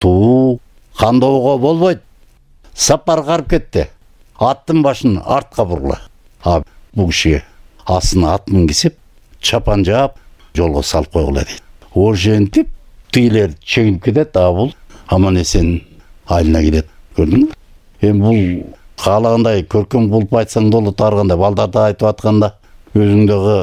Туу кандоого болбойт. Сапар карып кетти. Аттын башын артка бургула. Бул кишиге астына ат мингизип, чапан жаап, жолго салып койгула дейт. Ошентип тигилер чегинип кетет, бул аман-эсен айылына келет. Көрдүңбү? Эми бул каалагандай көркөм кылып айтсаң болот, ар кандай балдарды айтып атканда өзүң дагы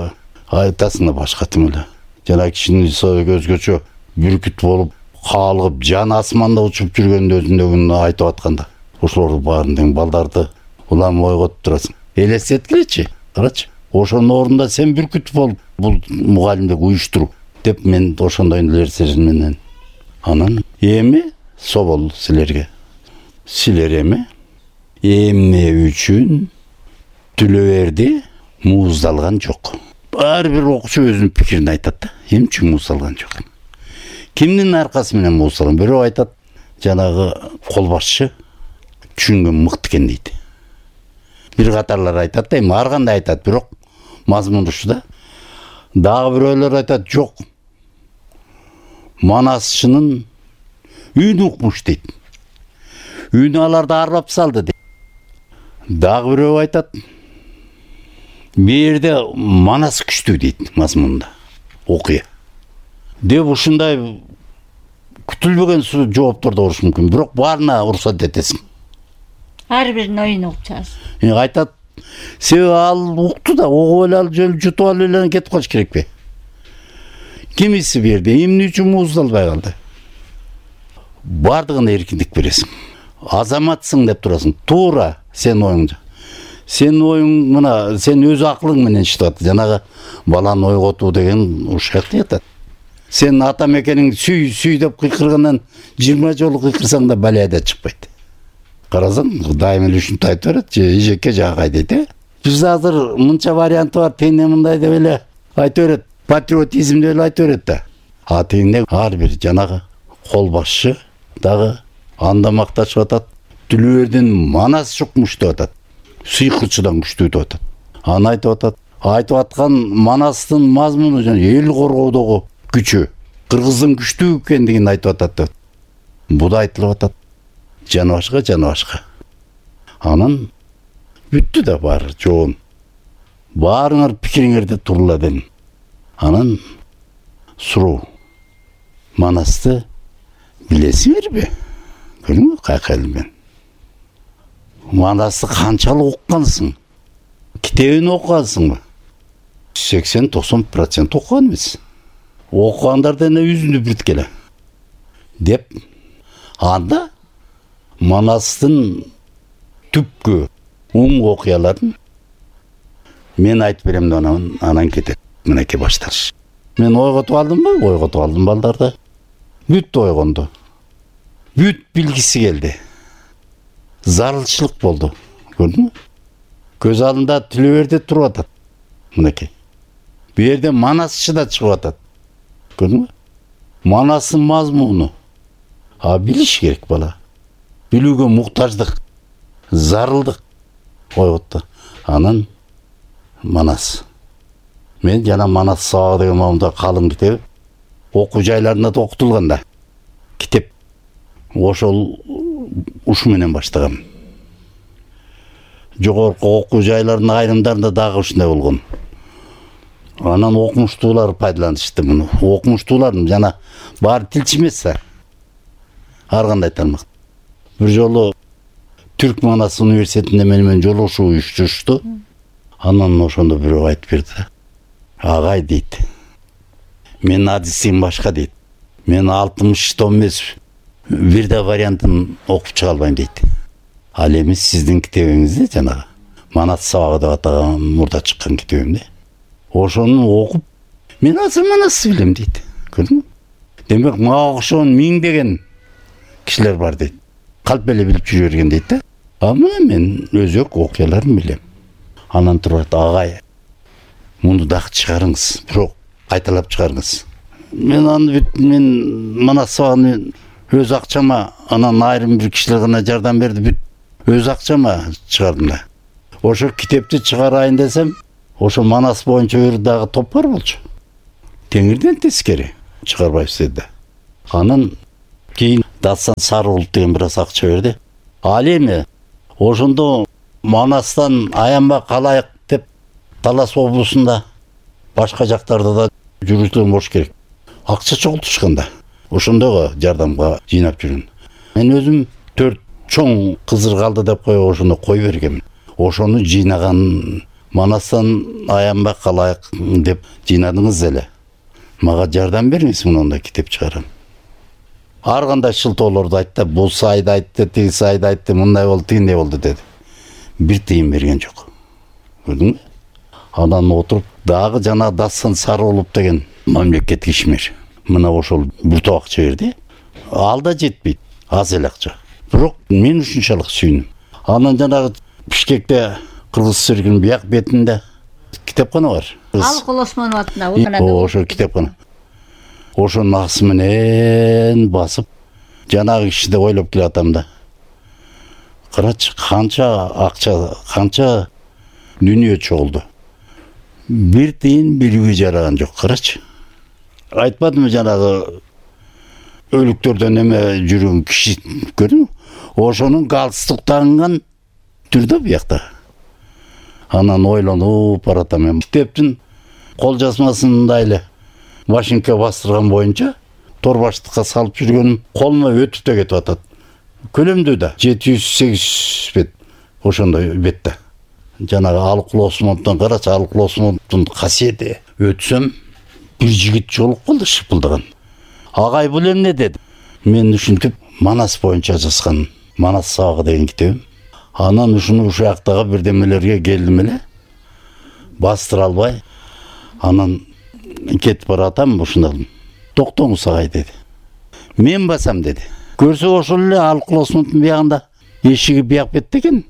айтасың да башкача эле. Жана кишинин өзгөчө бүркүт болуп, каалыгып, жан асманда учуп жүргөндө өзүндөгүн айтып атканда, ошолордун баарын тең балдарды улам ойготуп турасың. Элестеткилечи, карачы. Ошонун ордунда сен бүркүт болуп, бул мугалимдик уюштуруу деп мен ошондой нерсе менен. Анан эми собол силерге. Силер эми эмне үчүн Түлөберди мууздалган жок? Ар бир окуучу өзүнүн пикирин айтат да. Эмне үчүн мууздалган жок? Кимдин аркасы менен мууздалган? Бирөө айтат, жанагы кол башчы түшүнгөн мыкты экен дейт. Бир катарлар айтат да, эми ар кандай айтат, бирок мазмун ушу да. Дагы бирөөлөр айтат, жок. Манасчынын үйүн укмуш дейт. Үйүнө аларды арбап салды дейт. Дагы бирөө айтат, бирде манас күчтүү дейт мазмунда. Окуя. Деп ушундай күтүлбөгөн жоопторду болушу мүмкүн, бирок баарына уруксат этесиң. Ар биринин оюн угуп чыгасың. Айтат, себеби ал укту да, угуп эле ал жол жутуп алып эле кетип калыш керекпи? Кимиси берди, эмне үчүн мууздалбай калды? Бардыгына эркиндик бересиң. Азаматсың деп турасың. Туура сен оюңда. Сен оюң мына, сен өз акылың менен иштеп, жанагы баланы ойготуу деген ушул жакта жатат. Сен ата мекениң сүй деп кыйкыргандан 20 жолу кыйкырсаң да балайда чыкпайт. Карасаң, дайым эле ушинтип айтып берет, эжекке жагай дейт, Бизде азыр мынча варианты бар, тегине мындай деп эле айтып берет, патриотизм деп эле айтып берет да. Тегине ар бир жанагы кол башчы дагы анда макташып атат. Түлөбердин манас чукмуш деп атат. Сыйкырчыдан күчтүү деп атат. Аны айтып атат. Айтып аткан манастын мазмуну жана эл коргоодогу күчү, кыргыздын күчтүү экендигин айтып атат. Буда айтылып атат. Жана башка. Анан бүттү да баары жоон. Баарыңар пикириңерди турла дедим. Анан суроо. Манасты билесиңерби? Көрдүңбү кайка элмен? Манасты канчалык уккансың? Китебин окугансыңбы? 80-90% окуган эмес. Окугандардан үзүндү бирткеле. Деп анда Манастын түпкү оң окуяларын мен айтып берем да анан кетет. Мынакей башташ. Мен ойготуп алдымбы? Ойготуп алдым балдарды. Бүт ойгонду. Бүт билгиси келди. Зарылчылык болду. Көрдүңбү? Көз алдында Түлөберди туруп атат. Мынакей. Бу жерде манасчы да чыгып атат. Көрдүңбү? Манастын мазмуну. Билиш керек бала. Билүүгө муктаждык, зарылдык ойготто. Анан манас. Мен жана манас сабагы деген момунда калың китеп окуу жайларында да окутулган да. Китеп ошол ушу менен баштагам. Жогорку окуу жайларынын айрымдарында дагы ушундай болгон. Анан окумуштуулар пайдаланышты муну. Окумуштуулар жана баары тилчи эмес да. Ар кандай тармак. Бир жолу Түрк Манас университетинде менен жолугушуу уюштурушту. Анан ошондо бирөө айтып берди. Агай дейт. Мен адисим башка дейт. Мен 60 том эмес, бир да вариантын окуп чыга албайм дейт. Ал эми сиздин китебиңизде жанагы Манас сабагы деп атаган мурда чыккан китебимде. Ошону окуп мен азыр Манасты билем дейт. Көрдүңбү? Демек мага окшогон миңдеген кишилер бар дейт. Калп эле билип жүрө берген дейт да. Мен өзөк окуяларын билем. Анан туруп агай, муну дагы чыгарыңыз, бирок кайталап чыгарыңыз. Мен Манас сабагын өз акчама, анан айрым бир кишилер гана жардам берди, бүт өз акчама чыгардым да. Ошо китепти чыгарайын десем, ошо Манас боюнча бир дагы топ бар болчу. Теңирден тескери чыгарбайбыз деди. Анан кийин Дастан Сарыулут деген бир аз акча берди. Ал эми ошондо Манастан аянбай калайык деп Талас облусунда башка жактарда да жүргүзүлгөн болуш керек. Акча чогултушканда ошондойго жардамга жыйнап жүргөн. Мен өзүм 4 чоң кызыр калды деп коюп ошону кой бергенмин. Ошону жыйнаган Манастан аянбай калайык деп жыйнадыңыз эле. Мага жардам бериңиз, мындай китеп чыгарам. Ар кандай шылтоолорду айтты, бул сайда айтты, тиги сайда айтты, мындай болду, тигиндей болду деди. Бир тыйын берген жок. Көрдүңбү? Анан отуруп дагы жана Дастан Сарыулут деген мамлекеттик ишмер. Мына ошол бир топ акча берди. Ал да жетпейт, аз эле акча. Бирок мен ушунчалык сүйүндүм. Анан жанагы Бишкекте Кыргыз циркинин бияк бетинде китепкана бар. Алыкул Осмонов атында ошо китепкана. Ошонун акысы менен басып жанагы кишиди ойлоп келатам да. Карачы канча акча, канча дүнүйө чогулду. Бир тыйын бирге жараган жок, карачы. Айтпадымбы жанагы өлүктөрдөн эме жүргөн киши, көрдүңбү? Ошонун галстук тагынган түрдө биякта. Анан ойлонуп баратам мен. Китептин кол жазмасында эле машинка бастырган боюнча торбаштыкка салып жүргөнүм колума өтүп да кетип атат. Көлөмдүү да 708 бет ошондой бетте. Жанагы Алыкул Осмоновдон карачы, Алыкул Осмоновдун касиети. Өтсөм бир жигит жолуп калды шыпылдаган. Агай бул эмне деди. Мен ушинтип Манас боюнча жазган Манас сабагы деген китебим. Анан ушуну ушактагы бирдемелерге келдим эле. Бастыра албай, анан кетип баратам, ушундадым. Токтоңуз агай деди. Мен басам деди. Көрсө ошол эле Алыкул Осмоновдун биягында эшиги бияк бетте экен.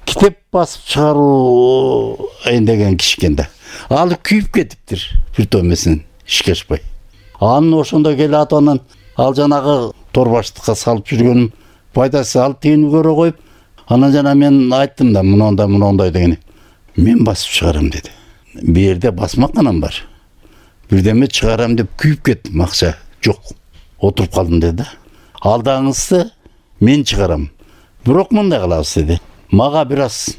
Китеп басып чыгаруу деген киши экен да. Ал күйүп кетиптир бир томесинен ишке ашпай. Анын ошондо келе атынан ал жанагы торбаштыкка салып жүргөнүм пайдасы ал тыйын көрө коюп, анан жана мен айттым да мындай деген. Мен басып чыгарам деди. Бу жерде басмаканам бар. Бирдеме чыгарам деп күйүп кеттим, акча жок. Отуруп калдым деди. Алдаңызды мен чыгарам. Бирок мындай кылабыз деди. Мага бир аз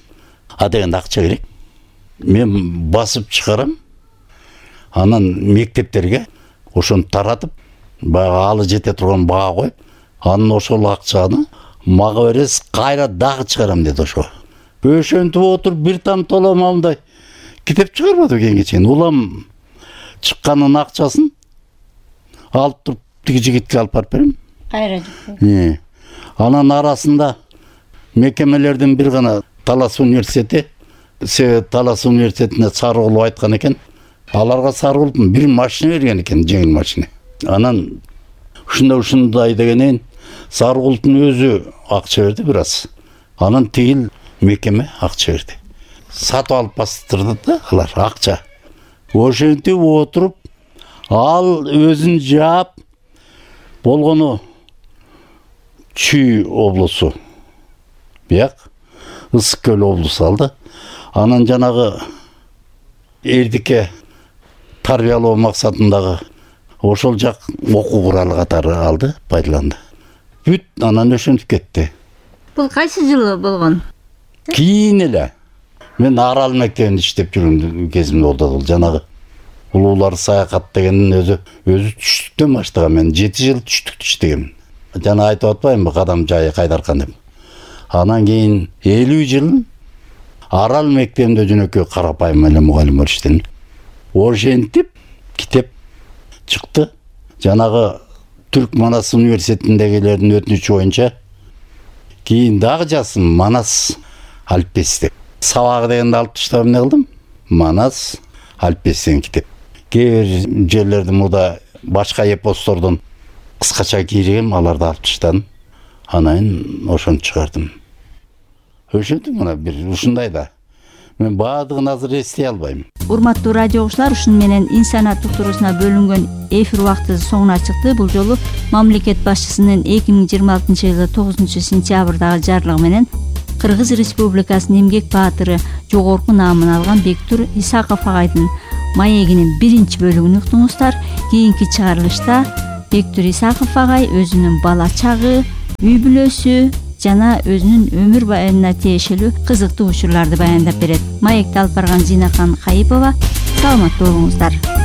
дегенде акча керек. Мен басып чыгарам. Анан мектептерге ошону таратып, баягы алы жете турган бага коюп, анын ошол акчаны мага бересиз, кайра дагы чыгарам деди ошо. Ошентип отуруп бир там толомамдай китеп чыгарбады кеңечен. Улам чыкканын акчасын алып туруп тиги жигитке алып барып берем. Кайра жик. Анан арасында мекемелердин бир гана Талас университети, Талас университетине Сарыулут айткан экен. Аларга Сарыулуттун бир машина берген экен, жеңил машина. Анан ушундай дегенен Сарыулуттун өзү акча берди бир аз. Анан тигил мекеме акча берди. Сатып алып бастырды да алар акча. Ошентип отуруп ал өзүн жаап болгону Чүй облусу. Бияк Ысык Көл облусу алды. Анан жанагы Эрдикке тарбиялоо максатындагы ошол жак окуу куралы катары алды, пайдаланды. Бүт анан ошентип кетти. Бул кайсы жылы болгон? Кийин эле. Мен Арал мектебинде иштеп жүргөн кезимде болду. Жанагы улуулар саякат дегендин өзү түштүктөн баштаган. Мен 7 жыл түштүктө иштегем. Жана айтып атпаймынбы, кадам жайы Кайдаркан деп. Анан кийин 50 жыл Арал мектебинде жөнөкөй карапайым эле мугалим болуп иштедим. Ошентип китеп чыкты. Жанагы Түрк Манас университетиндегилердин өтүнүчү боюнча кийин дагы жаздым Манас алфбеси деп. Сабагы дегенди алып таштап эмне кылдым? Манас алфбеси деген китеп. Кээ бир жерлерде муда башка эпостордон кыскача кийрегем, аларды алып таштадым. Анан ошону чыгардым. Ошентип мына бир ушундай да. Мен баардыгын азыр эстей албайм. Урматтуу радио угуучулар, ушуну менен инсаният туурусуна бөлүнгөн эфир убактыбыз соңуна чыкты. Бул жолу мамлекет башчысынын 2026-жылы 9-сентябрдагы жарлыгы менен Кыргыз Республикасынын эмгек баатыры, жогорку наамын алган Бектур Исаков агайдын маегинин 1-бөлүгүн уктуңуздар. Кийинки чыгарылышта Бектур Исаков агай өзүнүн бала чагы, үй бүлөсү жана өзүнүн өмүр баянына тиешелүү кызыктуу учурларды баяндап берет. Маекти алып барган Зинакан Кайыпова. Саламаттуу болуңуздар.